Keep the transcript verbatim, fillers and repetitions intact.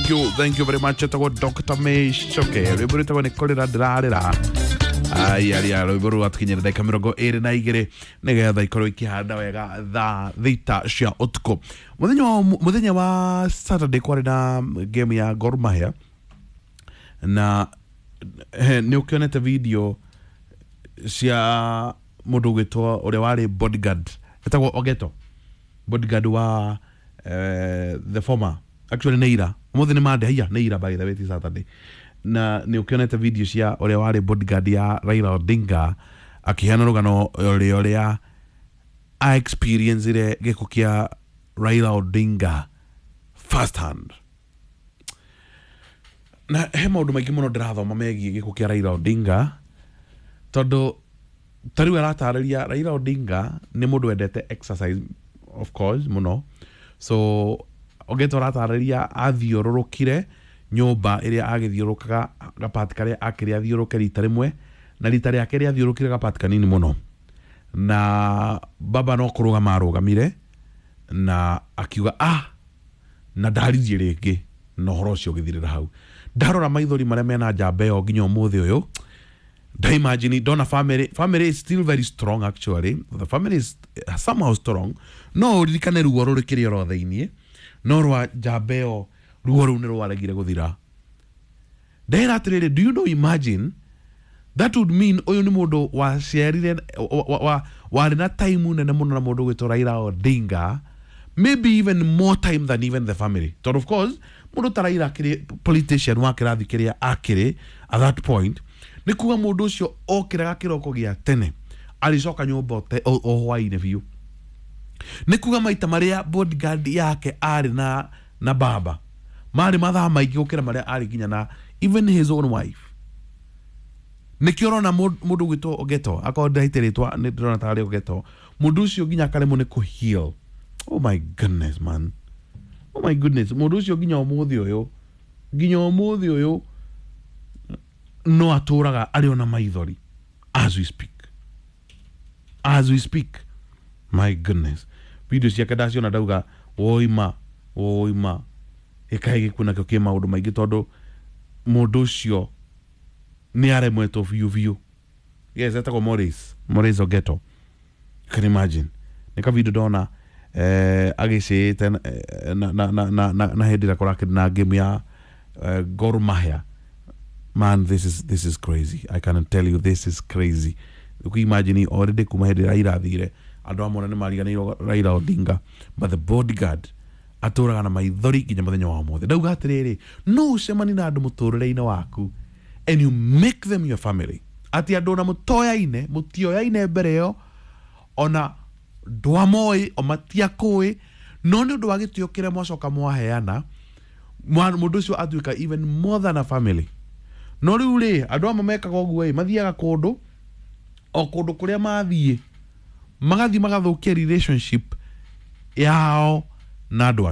Thank you, thank you very much. Etagwo Doctor Micoke, rwĩmbo rwĩtagwo nĩ kũrĩra ndĩrarĩra. Ai aria rwĩmbo rũu rwatũkinyĩra ndagĩka mĩrongo ĩrĩ na igĩrĩ nĩgetha ikorwo ikĩhanda wega thaa thita cia ũtukũ. Mũthenya wa mũthenya wa Saturday kwarĩ na game ya Gor Mahia na he, nĩ ũkĩonete video cia mũndũ ũgwĩtwo ũrĩa warĩ bodyguard etagwo Ogeto, bodyguard wa eh, the former, actually nĩ ira, ũmũthĩ nĩ Monday, haiya, nĩ ira by the way, ti Saturday. Na nĩ ũkĩonete video cia ũrĩa warĩ bodyguard ya Raila Odinga akĩheana rũgano ũrĩa ũrĩa a experience gĩkuũ kĩa Raila Odinga first hand. Na he maũndũ maingĩ mũno ndĩrathoma megiĩ gĩkuũ kĩa Raila Odinga, tondũ ta rĩu aratarĩria Raila Odinga nĩ mũndũ wendete exercise, of course, mũno. So Ogeto aratarĩria athiũrũrũkire nyũmba ĩrĩa agĩthiũrũrũkaga gapati karĩa akĩrĩ athiũrũke rita rĩmwe, na rita rĩake rĩathiũrũkire gapati kanini mũno, na baba no kũrũgama arũgamire na akiuga ah, na ndaririe rĩngĩ, na ũhoro ũcio ũgĩthirĩra hau. Ndarora maithori marĩa mena njamba ĩyo nginya ũmũthĩ ũyũ, ndaimagine ndona family family is still very strong. Actually, the family is somehow strong. No ũririkane ruo rũrĩ kĩrĩa oro thĩiniĩ, no rwa njamba ĩyo ruo rũu nĩ rwaregire gũthira. Ndera atĩrĩrĩ, do you know, imagine, that would mean ũyũ nĩ mũndũ waciarire wa- wa- warĩ na time nene mũno na mũndũ ũgwĩtwo Raila Odinga, maybe even more time than even the family, tondũ of course mũndũ ta Raila akĩrĩ politician wa kĩrathi kĩrĩa akĩrĩ at that point, nĩ kuga mũndũ ũcio okĩraga kĩroko gĩa tene arĩcoka nyũmba o te- o o hwaĩ-inĩ biũ. Nĩ kuga maita marĩa bodyguard yake arĩ na na baba marĩ mathaa maingĩ gũkĩra marĩa arĩ nginya na even his own wife. Nĩkĩo ũrona mũndũ mũndũ ũgwĩtwo Ogeto, akorwo ndĩraite rĩtwa nĩ ndĩrona tarĩ Ogeto, mũndũ ũcio nginya akaremwo nĩ kũheal. Oh my goodness, man, oh my goodness. Mũndũ ũcio nginya ũmũthĩ ũyũ nginya ũmũthĩ ũyũ no atũraga arĩ ona maithori as we speak as we speak. My goodness, video ciake ndaciona ndauga woima woima ĩkaĩ gĩkuũ nakĩo kĩ maũndũ maingĩ, tondũ mũndũ ũcio nĩ aremwetwo biũ biũ. Yes, etagwo Maurice Maurice Ogeto. You can imagine nĩ ka video ndona eh, agĩcĩĩte eh, na, na, na, na, na, na hĩndĩ ĩrĩa kũrakĩrĩ na game ya eh, Gor Mahia. Man, this is, this is crazy. I can tell you this is crazy. Ũkũ imagine already kuma hĩndĩ Raila athire, andũ amwe nĩ mariganĩirwo Raila Odinga, but the bodyguard atũraga na maithori nginya mũthenya wa ũmũthĩ. Ndauga atĩrĩrĩ, no ũcemani na andũ mũtũrĩre-inĩ waku and you make them your family, atĩ andũ ona mũtoyaine, mũtioyaine mbere ĩyo, ona ndwamoĩ o matiakũĩ, no nĩ ũndũ wa gĩtĩo kĩrĩa mwacoka mwaheana, mwa- mũndũ ũcio atuĩka even more than a family. No rĩu rĩ, andũ amwe mekaga ũguo ĩ, mathiaga kũndũ o kũndũ kũrĩa mathiĩ magathiĩ magathũkia relationship yao na andũ.